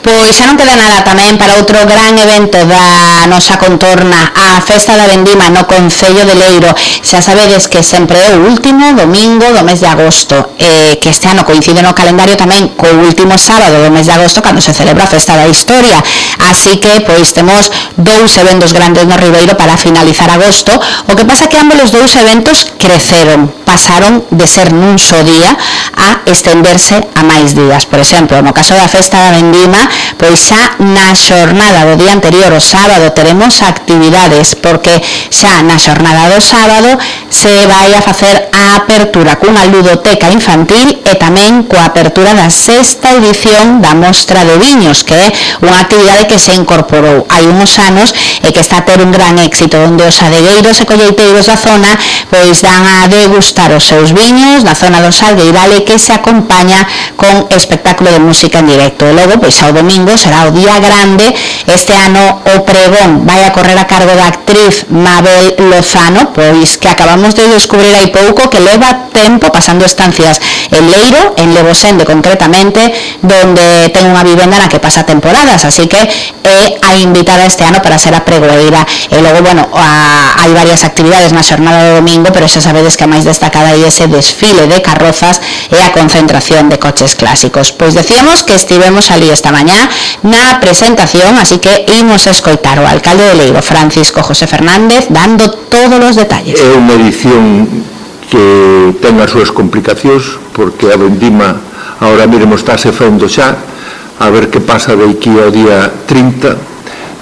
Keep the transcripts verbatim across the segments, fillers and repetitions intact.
Pois xa non queda nada tamén para outro gran evento da nosa contorna, a Festa da Vendima no Concello de Leiro. Xa sabedes que sempre é o último domingo do mes de agosto, eh, que este ano coincide no calendario tamén co último sábado do mes de agosto, cando se celebra a Festa da Historia. Así que, pois, temos dous eventos grandes no Ribeiro para finalizar agosto. O que pasa que ambos os dous eventos creceron, pasaron de ser nun só día a estenderse a máis días. Por exemplo, no caso da Festa da Vendima, pois xa na xornada do día anterior, o sábado, teremos actividades, porque xa na xornada do sábado se vai a facer a apertura cunha ludoteca infantil e tamén coa apertura da sexta edición da Mostra de Viños, que é unha actividade que se incorporou hai uns anos e que está a ter un gran éxito, onde os adegueiros e colleiteiros da zona pois dan a degustar os seus viños na zona do Salgueiral, e que se acompaña con espectáculo de música en directo. E logo, pois ao domingo será o día grande. Este ano o pregón vai a correr a cargo da actriz Mabel Lozano, pois que acabamos de descubrir hai pouco que leva tempo pasando estancias en Leiro, en Levosende concretamente, donde ten unha vivenda na que pasa temporadas, así que é a invitada este ano para ser a pregoeira. E logo, bueno, a, hai varias actividades na xornada do domingo, pero xa sabedes que a máis destacada é ese desfile de carrozas e a concentración de coches clásicos. Pois decíamos que estivemos ali esta mañá na presentación, así que imos a escoitar o alcalde de Leiro, Francisco José Fernández, dando todos os detalles. É unha edición que ten as súas complicacións, porque a vendima ahora mesmo estáse fendo xa, a ver que pasa de aquí ao día trinta,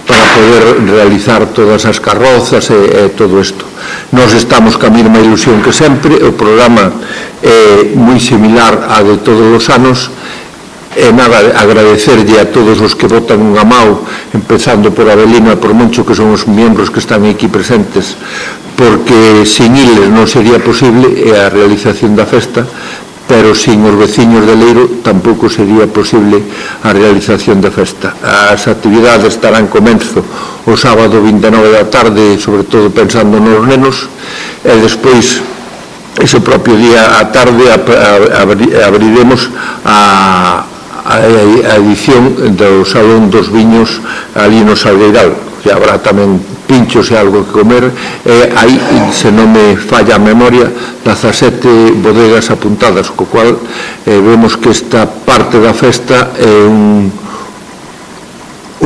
para poder realizar todas as carrozas e, e todo isto. Nós estamos ca mesma ilusión que sempre, o programa é moi similar a de todos os anos. E nada, agradecerlle a todos os que votan unha mao, empezando por Abelino e por Moncho, que son os membros que están aquí presentes, porque sin iles non sería posible a realización da festa, pero sin os veciños de Leiro tampouco sería posible a realización da festa. As actividades estarán comenzo o sábado vinte e nove da tarde, sobre todo pensando nos nenos, e despois ese propio día á tarde abriremos a a edición do Salón dos Viños ali no Salgueiral, que habrá tamén pinchos e algo que comer, e aí, se non me falla a memoria, dezasete bodegas apuntadas, co cual eh, vemos que esta parte da festa é un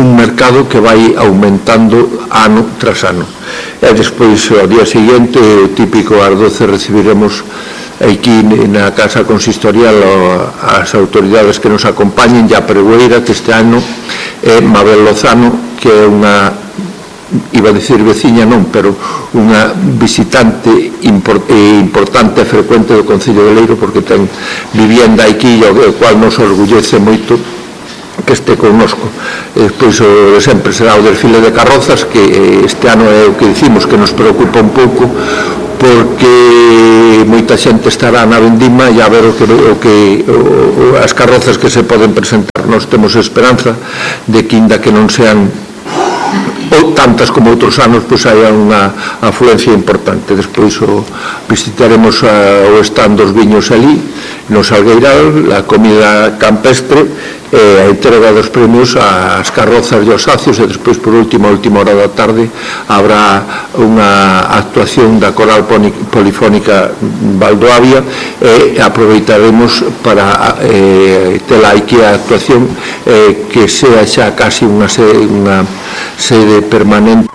un mercado que vai aumentando ano tras ano. E despois, ao día seguinte, o típico ás doce recibiremos aquí na Casa Consistorial as autoridades que nos acompañen, e a pregoeira, que este ano é Mabel Lozano, que é unha, iba a dicir veciña non, pero unha visitante importante e frecuente do Concello de Leiro, porque ten vivienda aquí, o cual nos orgullece moito que este connosco. E despois o de sempre será o desfile de carrozas, que este ano é o que dicimos que nos preocupa un pouco, porque moita xente estará na vendima e a ver o que, o que o, as carrozas que se poden presentar. Nós temos esperanza de que, inda que non sean ou tantas como outros anos, pois hai unha afluencia importante. Despois o, visitaremos a, o stand dos viños ali no Salgueiral, a comida campestre e a entrega dos premios ás carrozas e aos sacios, e despois, por último, a última hora da tarde, habrá unha actuación da Coral Polifónica Valdoavia, e aproveitaremos para eh, ter aquí a actuación eh, que sea xa casi unha sede, unha sede permanente.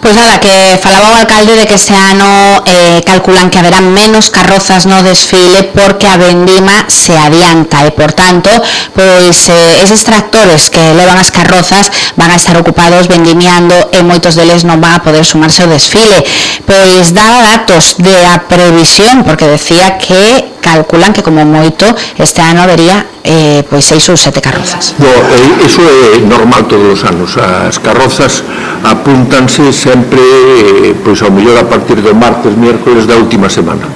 Pois nada, que falaba o alcalde de que este ano eh, calculan que haberá menos carrozas no desfile porque a vendima se adianta e, por tanto, pois eh, eses tractores que levan as carrozas van a estar ocupados vendimiando e moitos deles non van a poder sumarse ao desfile. Pois daba datos de a previsión, porque decía que calculan que como moito este ano habería eh, pois seis ou sete carrozas. No, eh, iso é normal todos os anos. As carrozas apúntanse sempre, eh, pois ao mellor a partir do martes, miércoles da última semana,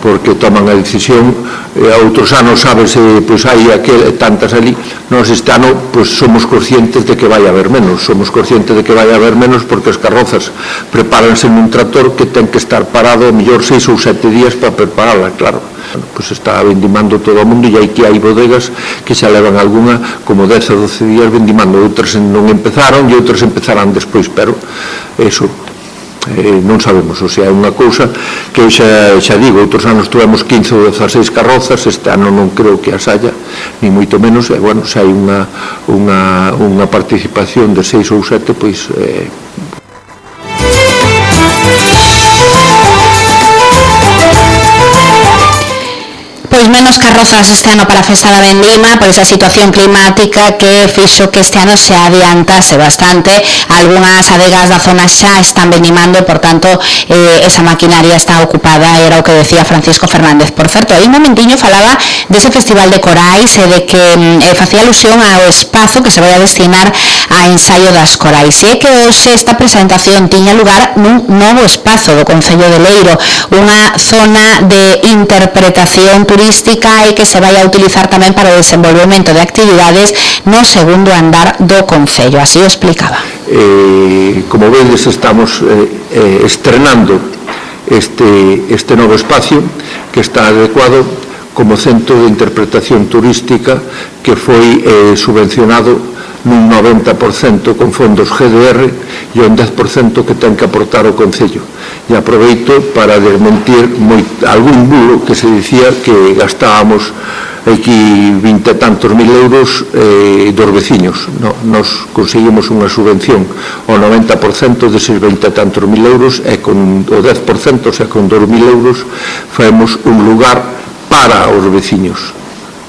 porque toman a decisión, e outros anos sabes, pois hai aquel, tantas ali, nós este ano pois, somos conscientes de que vai haber menos, somos conscientes de que vai haber menos porque as carrozas prepáranse nun tractor que ten que estar parado a mellor seis ou sete días para prepararla, claro. Bueno, pois está vendimando todo o mundo e aquí hai bodegas que xa levan algunha como dez ou doce días vendimando, outras non empezaron e outras empezarán despois, pero eso eh, non sabemos, o sea, é unha cousa que xa, xa digo, outros anos tuvemos quince ou dezasseis carrozas, este ano non creo que as haya, ni moito menos, e bueno, xa hai unha, unha, unha participación de seis ou sete, pois eh, Pois menos carrozas este ano para a Festa da Vendima por esa situación climática que fixo que este ano se adiantase bastante. Algunhas adegas da zona xa están vendimando, por tanto eh, esa maquinaria está ocupada, era o que decía Francisco Fernández. Por certo, aí un momentiño falaba dese festival de corais e de que eh, facía alusión ao espazo que se vai a destinar a ensaio das corais. E é que hoxe esta presentación tiña lugar nun novo espazo do Concello de Leiro, unha zona de interpretación turística e que se vai a utilizar tamén para o desenvolvemento de actividades no segundo andar do Concello, así o explicaba. Eh, como vedes, estamos eh, eh, estrenando este, este novo espacio que está adecuado como centro de interpretación turística que foi eh, subvencionado nun noventa por cento con fondos G D R e un dez por cento que ten que aportar o Concello. E aproveito para desmentir moi, algún bulo que se dicía que gastábamos aquí vinte e tantos mil euros eh, dos veciños. No, nos conseguimos unha subvención ao noventa por cento deses vinte e tantos mil euros e con o dez por cento, o sea, con dos mil euros faemos un lugar para os veciños,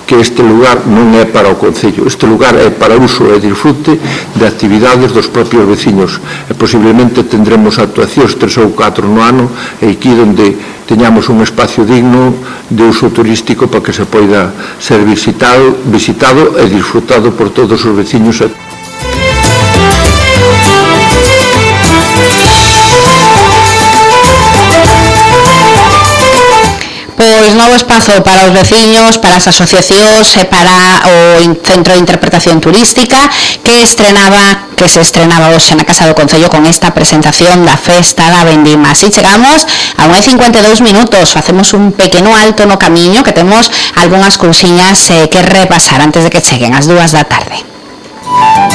que este lugar non é para o Concello, este lugar é para uso e disfrute de actividades dos propios veciños e posiblemente tendremos actuacións tres ou catro no ano e aquí onde teñamos un espacio digno de uso turístico para que se poida ser visitado, visitado e disfrutado por todos os veciños. Pois novo espazo para os veciños, para as asociacións e para o Centro de Interpretación Turística que estrenaba, que se estrenaba hoxe na Casa do Concello con esta presentación da Festa da Vendima. Así chegamos a unha e cincuenta e dous minutos, facemos un pequeno alto no camiño que temos algunhas cousiñas eh, que repasar antes de que cheguen as dúas da tarde.